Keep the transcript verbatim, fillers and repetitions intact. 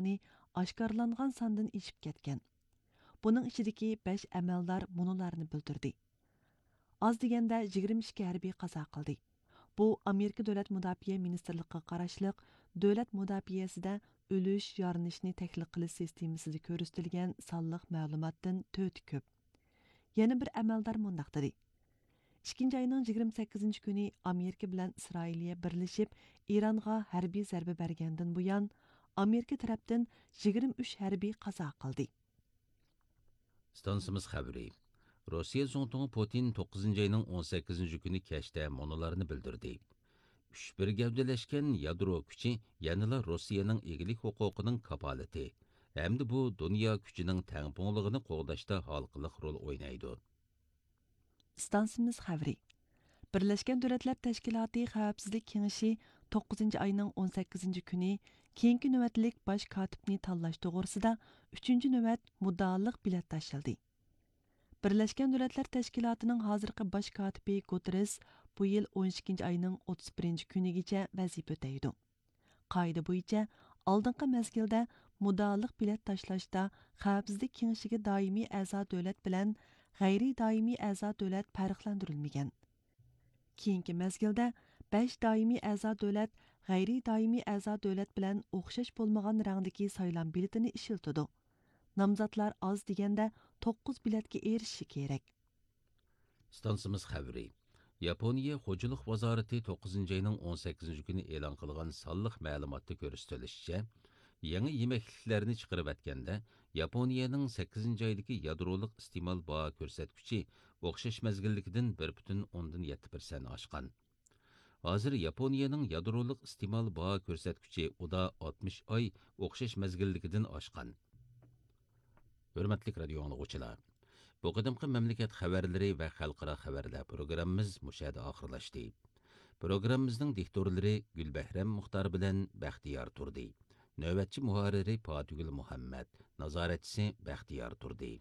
ئەمەلدارنى ئاشكارىلانغان ساندىن ئېشىپ كەتكەن. بۇنىڭ ئىچىدىكى بەش ئەمەلدار مۇنۇلارنى بىلدۈردى. ئاز دېگەندە يىگىرمە ئىككى ھەربىي قازا قىلدى. بۇ ئامېرىكا دۆلەت مۇداپىئە مىنىستىرلىقىغا قاراشلىق دۆلەت مۇداپىئەسىدە ئۆلۈش، يارىلىنىشنى تەھلىل قىلىش سىستېمىسىدا كۆرسىتىلگەن سانلىق مەلۇماتتىن تۆتى كۆپ. يەنە بىر ئەمەلدار مۇنداق دېدى: ئىككىنچى ئاينىڭ يىگىرمە سەككىزىنچى كۈنى ئامېرىكا بىلەن ئىسرائىلىيە بىرلىشىپ ئىرانغا ھەربىي زەربە بەرگەندىن بۇيان، ئامېرىكا تەرەپتىن يىگىرمە ئۈچ ھەربىي قازا قىلدى. ئىستانسىمىز خەۋىرى. روسىيە زۇڭتۇڭى پۇتىن توققۇزىنچى ئاينىڭ ئون سەككىزىنچى كۈنى كەچتە مۇنۇلارنى بىلدۈردى: ئۈچ بىر گەۋدىلەشكەن يادرو كۈچى يەنىلا روسىيەنىڭ ئىگىلىك ھوقۇقىنىڭ كاپالىتى ھەمدە بۇ دۇنيا كۈچىنىڭ تەڭپۇڭلۇقىنى قوغداشتا ھالقىلىق رول ئوينايدۇ. ئىستانسىمىز خەۋىرى. بىرلەشكەن دۆلەتلەر تەشكىلاتى خەۋپسىزلىك كېڭىشى توققۇزىنچى ئاينىڭ ئون سەككىزىنچى كۈنى كېيىنكى نۆۋەتلىك باش كاتىپنى تاللاش توغرىسىدا ئۈچىنچى نۆۋەت مۇددىئالىق بېلەت تاشلىدى. بىرلەشكەن دۆلەتلەر تەشكىلاتىنىڭ ھازىرقى باش كاتىپى گۇتېررېس بۇ يىل ئون ئىككىنچى ئاينىڭ ئوتتۇز بىرىنچى كۈنىگىچە ۋەزىپە ئۆتەيدۇ. قائىدە بويىچە، ئالدىنقى مەزگىلدە مۇددىئالىق بېلەت تاشلاشتا خەۋپسىزلىك كېڭىشىگە دائىمىي ئەزا دۆلەت بىلەن غەيرىي دائىمىي ئەزا دۆلەت پەرقلەندۈرۈلمىگەن. كېيىنكى مەزگىلدە بەش دائىمىي ئەزا دۆلەت غەيرىي دائىمىي ئەزا دۆلەت بىلەن ئوخشاش بولمىغان رەڭدىكى سايلام بېلىتىنى ئىشلىتىدۇ. نامزاتلار ئاز دېگەندە توققۇز بېلەتكە ئېرىشىشى كېرەك. ئىستانسىمىز خەۋىرى. ياپونىيە خوجىلىق ۋازارىتى توققۇزىنچى ئاينىڭ ئون سەككىزىنچى كۈنى ئېلان قىلغان سانلىق مەلۇماتتا كۆرسىتىلىشىچە، يېڭى يېمەكلىكلەرنى چىقىرىۋەتكەندە، ياپونىيەنىڭ سەككىزىنچى ئايدىكى يادرولۇق ئىستېمال باھا كۆرسەتكۈچى ئوخشاش مەزگىلدىكىدىن بىر پۈتۈن ئوندىن يەتتە پىرسەنت ئاشقان. ھازىر ياپونىيەنىڭ يادرولۇق ئىستېمال باھا كۆرسەتكۈچى ئۇدا ئاتمىش ئاي ئوخشاش مەزگىلدىكىدىن ئاشقان. ھۆرمەتلىك رادىيو ئاڭلىغۇچىلار، بۇ قېتىمقى مەملىكەت خەۋەرلىرى ۋە خەلقئارا خەۋەرلەر پروگراممىمىز مۇشۇ يەردە ئاخىرلاشتى. پروگراممىمىزنىڭ دىكتورلىرى گۈلبەھرەم مۇختار بىلەن بەختىيار تۇردى. نۆۋەتچى مۇھەررىرى پاتىگۈل مۇھەممەد، نازارەتچىسى بەختىيار تۇردى.